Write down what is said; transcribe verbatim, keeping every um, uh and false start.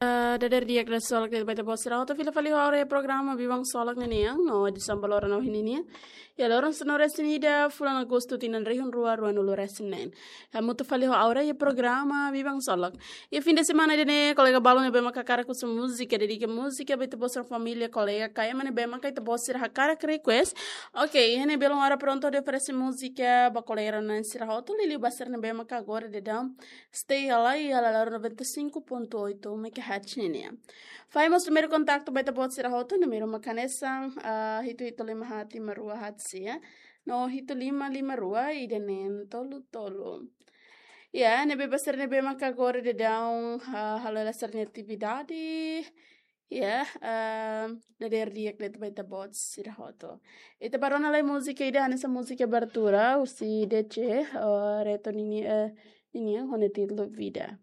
Ah, dadeer di'ak, dadeer solok de'it ba ita-boot sira hotu, fila fali ho ha'u iha programa Biban Solok ninian, no edisaun ba loron ohin ninian. Iha loron sanulu-resin-ida fulan Agostu tinan rihun rua ruanulu-resin-neen. Hamutuk fali ho ha'u iha programa Biban Solok. Iha fin de semana ida-ne'e, kolega balu ne'ebé maka hakarak husu múzika, dedika múzika ba ita-boot sira família, kolega ka ema ne'ebé maka ita-boot sira hakarak request. Oke, iha ne'e belun ha'u prontu hodi oferese múzika ba kolega rona sira hotu, liuliu ba sira ne'ebé maka agora daudaun stay iha la, iha la loron noventa e cinco ponto oito megahertz ninian. Fai mós númeru kontaktu ba ita-boot sira hotu, númeru maka hanesan, ah, hitu hitu lima haat lima rua haat sia, no hitu lima lima rua ida neen tolu tolu. Ya, ne'ebé ba sira ne'ebé maka agora daudaun, ah, halo hela sira-nia atividade. Ya, ah, dadeer di'ak de'it ba ita-boot sira hotu. Ita bá rona lai múzika ida hanesan múzika abertura husi D C, ah, Reto nini, eh, ninian ho nia títulu Vida.